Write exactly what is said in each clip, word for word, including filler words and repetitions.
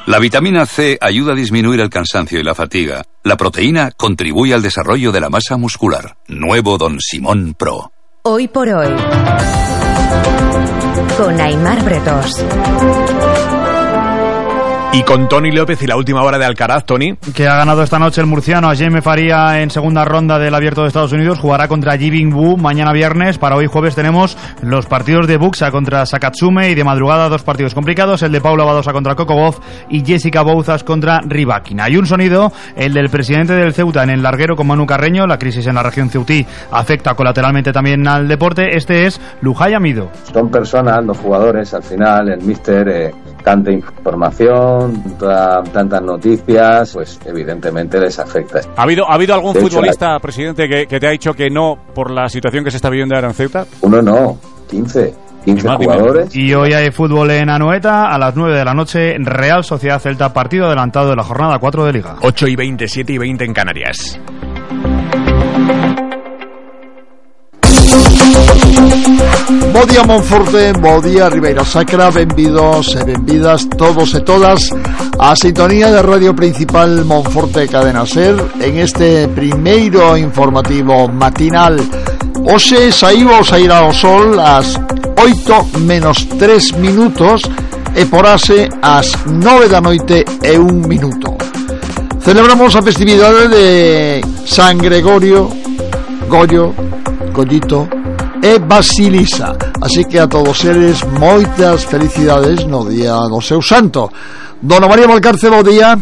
La vitamina C ayuda a disminuir el cansancio y la fatiga. La proteína contribuye al desarrollo de la masa muscular. Nuevo Don Simón Pro. Hoy por hoy, con Aimar Bretos. Y con Tony López y la última hora de Alcaraz, Tony. Que ha ganado esta noche el murciano a Jaime Faría en segunda ronda del Abierto de Estados Unidos. Jugará contra Jibing Wu mañana viernes. Para hoy jueves tenemos los partidos de Buxa contra Sakatsume y de madrugada dos partidos complicados. El de Paula Badosa contra Coco Gauff y Jessica Bouzas contra Rybakina. Hay un sonido, el del presidente del Ceuta en el larguero con Manu Carreño. La crisis en la región ceutí afecta colateralmente también al deporte. Este es Lujay Amido. Son personas, los jugadores, al final el míster... Eh... tanta información, tanta, tantas noticias, pues evidentemente les afecta. ¿Ha habido, ¿ha habido algún de futbolista, hecho, la... presidente, que, que te ha dicho que no por la situación que se está viviendo ahora en Ceuta? Uno no, quince. quince jugadores. Y hoy hay fútbol en Anoeta a las nueve de la noche, Real Sociedad Celta, partido adelantado de la jornada cuatro de Liga. ocho y veinte, siete y veinte en Canarias. Bo día Monforte, bo día Ribeira Sacra, benvidos e benvidas todos e todas a sintonía de Radio Principal Monforte Cadena Ser en este primeiro informativo matinal. Hoxe saímos a ir ao sol ás oito menos tres minutos e porase ás nove da noite e un minuto. Celebramos a festividade de San Gregorio, Goyo, Gollito e Basilisa. Así que a todos eles moitas felicidades no día do seu santo. Dona María Valcarce, bo día.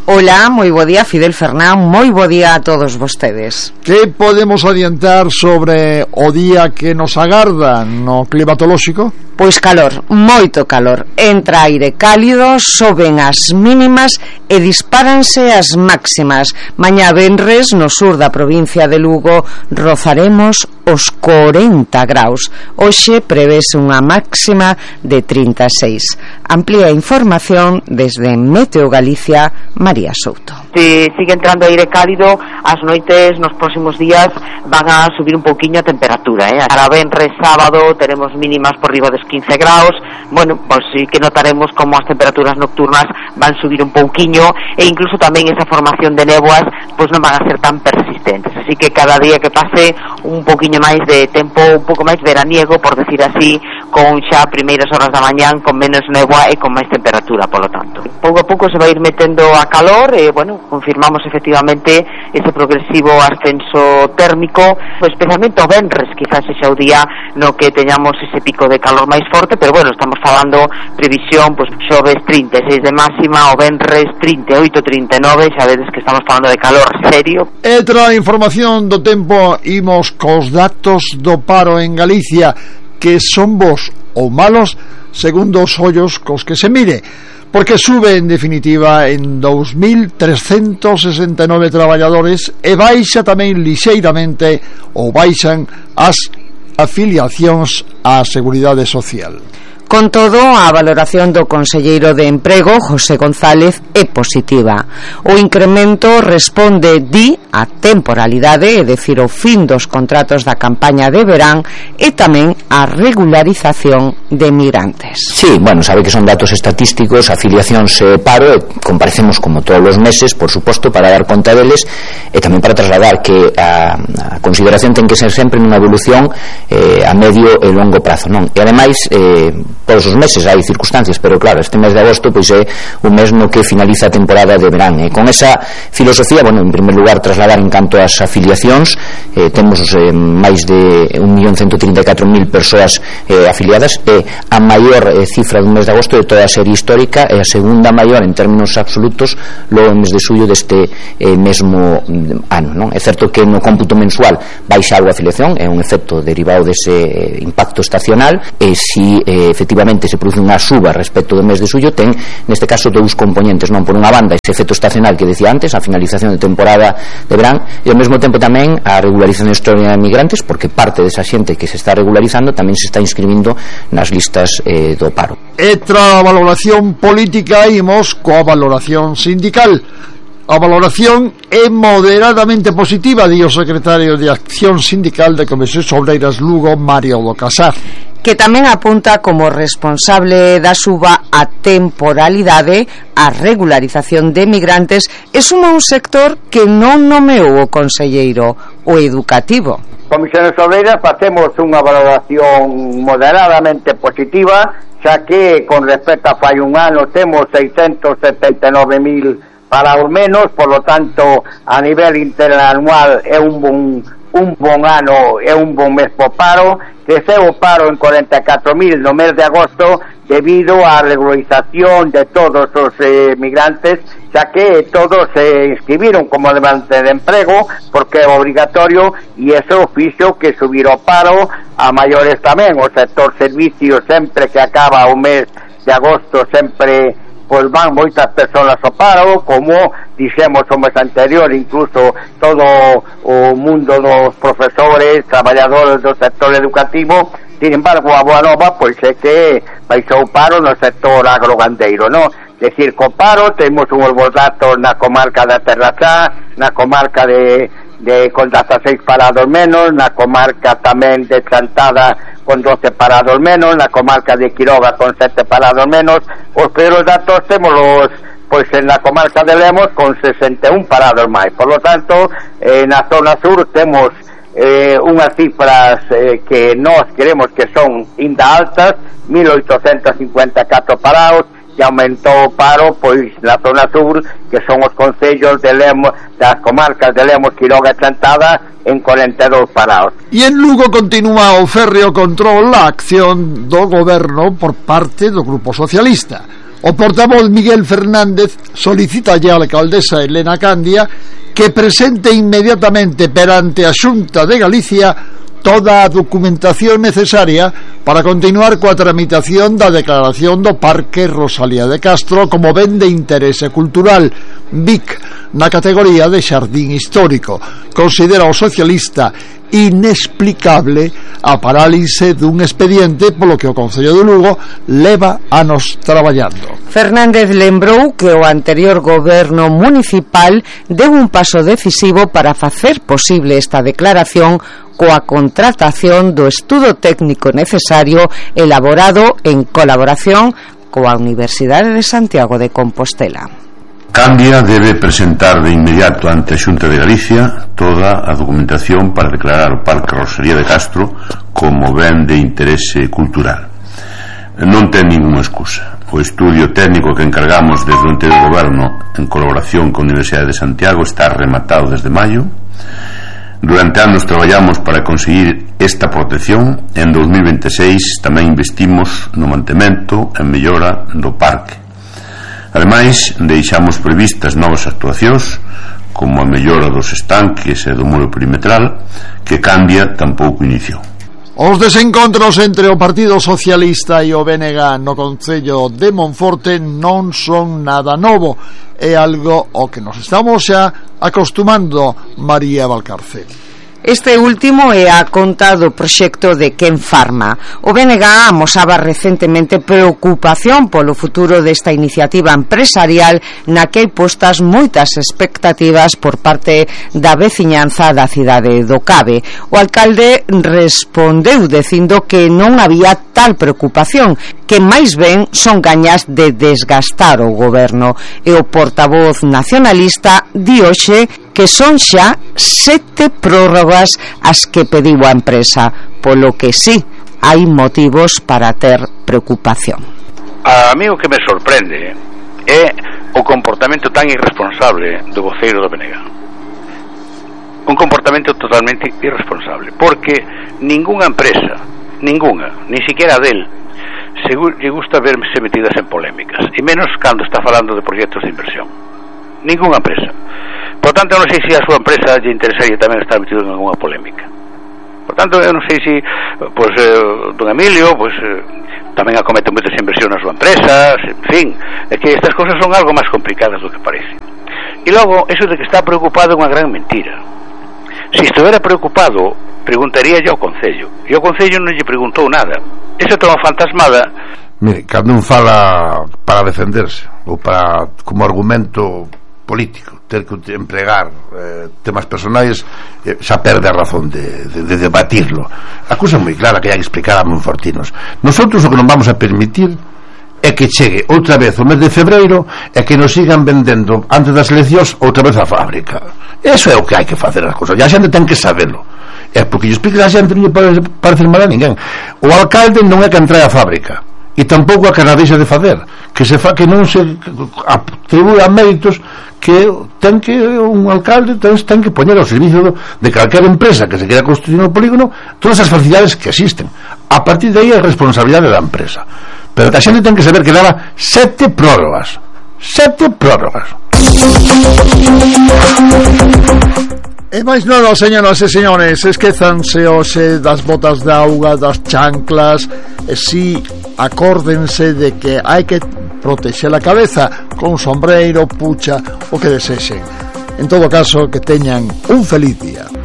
Hola, moi bo día, Fidel Fernán, moi bo día a todos vostedes. Que podemos adiantar sobre o día que nos agarda no climatolóxico? Pois calor, moito calor. Entra aire cálido, soben as mínimas e dispáranse as máximas. Mañá venres, no sur da provincia de Lugo, rozaremos os corenta graus. Hoxe prevese unha máxima de trinta e seis. Amplía información desde Meteo Galicia, María Souto. Si sigue entrando aire cálido, as noites nos próximos días van a subir un pouquiño a temperatura, eh? Para venres sábado teremos mínimas por riba dos quince graus. Bueno, pois sí que notaremos como as temperaturas nocturnas van subir un pouquiño e incluso tamén esa formación de néboas pois non van a ser tan persistentes. Así que cada día que pase un pouquiño máis de tempo, un pouco máis veraniego, por decir así, con xa primeiras horas da mañán con menos néboa e con máis temperatura, polo tanto. Pouco a pouco se vai ir metendo a calor e, bueno, confirmamos efectivamente ese progresivo ascenso térmico, especialmente o venres, quizás ese o día no que teñamos ese pico de calor máis forte, pero bueno, estamos falando previsión, pois xoves trinta e seis de máxima, o venres trinta e oito, trinta e nove, xa vedes que estamos falando de calor serio. E tra a información do tempo, imos cos datos do paro en Galicia, que son bos ou malos segundo os ollos cos que se mire, porque sube en definitiva en dous mil trescentos sesenta e nove traballadores e baixa tamén lixeiramente ou baixan as afiliacións á Seguridade Social. Con todo, a valoración do conselleiro de Emprego, José González, é positiva. O incremento responde, di, a temporalidade, é dicir, o fin dos contratos da campaña de verán e tamén a regularización de migrantes. Sí, bueno, sabe que son datos estatísticos, afiliacións e paro, e comparecemos como todos os meses, por suposto, para dar conta deles e tamén para trasladar que a, a consideración ten que ser sempre nunha evolución eh, a medio e longo prazo, non? E ademais, eh, todos os meses hai circunstancias, pero claro, este mes de agosto pois é un mes no que finaliza a temporada de verán, e con esa filosofía, bueno, en primer lugar trasladar en canto ás afiliacións, eh, temos eh, máis de un millón ciento trinta e catro mil persoas eh, afiliadas, e a maior eh, cifra do mes de agosto de toda a serie histórica e a segunda maior en términos absolutos logo en mes de xullo deste eh, mesmo ano, non? É certo que no cómputo mensual baixa algo a afiliación, é un efecto derivado dese eh, impacto estacional, e si eh, efectivamente se produce unha suba respecto do mes de xullo, ten neste caso dous componentes, non? Por unha banda ese efecto estacional que decía antes, a finalización de temporada de verán, e ao mesmo tempo tamén a regularización histórica de migrantes, porque parte desa xente que se está regularizando tamén se está inscribindo nas listas eh, do paro. E tra a valoración política imos coa valoración sindical. A valoración é moderadamente positiva, di o secretario de Acción Sindical de Comisiones Obreiras Lugo, Mario do Casar. que tamén apunta como responsable da suba a temporalidade, a regularización de migrantes e suma un sector que non nomeou o conselleiro, o educativo. Comisiones Obreiras facemos unha valoración moderadamente positiva, xa que con respecto a fai un ano temos seiscentos setenta e nove mil parados menos, por lo tanto a nivel interanual é un bon un bon ano, é un bon mes por paro, que se o paro en cuarenta e catro mil no mes de agosto debido á regularización de todos os eh, migrantes, xa que todos se eh, inscribiron como demanda de emprego porque é obrigatorio, e eso fixo que subir o paro a maiores tamén. O sector servicios, sempre que acaba o mes de agosto, sempre pois van moitas persoas ao paro, como dixemos o mes anterior, incluso todo o mundo dos profesores, traballadores do sector educativo. Sin embargo, a boa nova pois é que baixou o paro no sector agrogandeiro, non? Decir, co paro temos uns bons datos na comarca da Terra Chá, na comarca de de con dezasseis parados menos, na comarca tamén de Chantada con doce parados menos, na comarca de Quiroga con sete parados menos. Os peores datos temos los, pois en la comarca de Lemos con sesenta e un parados máis. Por lo tanto, eh, na zona sur temos eh, unhas cifras eh, que nós queremos que son inda altas, mil oitocentos cincuenta e catro parados, e aumentou o paro pois na zona sur, que son os concellos de Lemos, das comarcas de Lemos, Quiroga e Chantada, en cuarenta e dous parados. E en Lugo continúa o férreo control a acción do goberno por parte do Grupo Socialista. O portavoz Miguel Fernández solicita a alcaldesa Elena Candia que presente inmediatamente perante a Xunta de Galicia toda a documentación necesaria para continuar coa tramitación da declaración do Parque Rosalía de Castro como ben de interese cultural, B I C, na categoría de xardín histórico. Considera o socialista inexplicable a parálise dun expediente polo que o Concello de Lugo leva anos traballando. Fernández lembrou que o anterior goberno municipal deu un paso decisivo para facer posible esta declaración coa contratación do estudo técnico necesario elaborado en colaboración coa Universidade de Santiago de Compostela. Candia debe presentar de inmediato ante a Xunta de Galicia toda a documentación para declarar o Parque Rosalía de Castro como ben de interese cultural. Non ten ninguna excusa. O estudio técnico que encargamos desde o anterior goberno en colaboración con a Universidade de Santiago está rematado desde maio. Durante anos traballamos para conseguir esta protección. En dos mil veintiséis tamén investimos no mantemento e mellora do parque. Ademais, deixamos previstas novas actuacións como a mellora dos estanques e do muro perimetral, que Candia tampouco iniciou. Os desencontros entre o Partido Socialista e o B N G no Concello de Monforte non son nada novo, é algo ao que nos estamos xa acostumando, María Valcarcel. Este último é a conta do proxecto de Ken Pharma. O B N G amosaba recentemente preocupación polo futuro desta iniciativa empresarial na que hai postas moitas expectativas por parte da veciñanza da cidade do Cabe. O alcalde respondeu dicindo que non había tal preocupación, que máis ben son gañas de desgastar o goberno. E o portavoz nacionalista di hoxe que son xa sete prórrogas as que pediu a empresa, polo que sí, hai motivos para ter preocupación. A mí o que me sorprende é o comportamento tan irresponsable do voceiro do B N G. Un comportamento totalmente irresponsable, porque ningunha empresa, ningunha, ni siquiera del, se lle gusta verse metidas en polémicas, e menos cando está falando de proxectos de inversión. Ningunha empresa. Por tanto, eu non sei se a súa empresa lle interesaría tamén estar metido en alguna polémica. Por tanto, eu non sei se pois, eh, don Emilio pois, eh, tamén acomete moitas inversións na súa empresa, en fin, é que estas cousas son algo máis complicadas do que parece. E logo, eso de que está preocupado é unha gran mentira. Se estivera preocupado, preguntaría ao Concello, e o Concello non lle preguntou nada. Esa toma fantasmada. Mire, cando un fala para defenderse ou para como argumento político, ter que empregar eh, temas personais, eh, xa perde a razón de, de, de debatirlo. A cousa é moi clara que hai que explicar a monfortinos. Nosotros o que non vamos a permitir é que chegue outra vez o mes de febreiro e que nos sigan vendendo antes das eleccións outra vez a fábrica. Eso é o que hai que facer as cousas, e a xente ten que sabelo. É porque lle explique a xente, non lle pode parecer mal a ninguén. O alcalde non é que entre a fábrica, e tampouco a que na deixa de facer, que se fa que non se atribúe a méritos que ten que un alcalde ten, ten que poñer ao servicio do, de calquera empresa que se queira construir no polígono todas as facilidades que existen. A partir de aí é responsabilidade da empresa, pero que a xente ten que saber que daba sete prórrogas sete prórrogas. E máis nada, señoras e señores, esquezanse hoxe das botas de auga, das chanclas, e si acórdense de que hai que protexer a cabeza con sombreiro, pucha, o que desexen. En todo caso, que teñan un feliz día.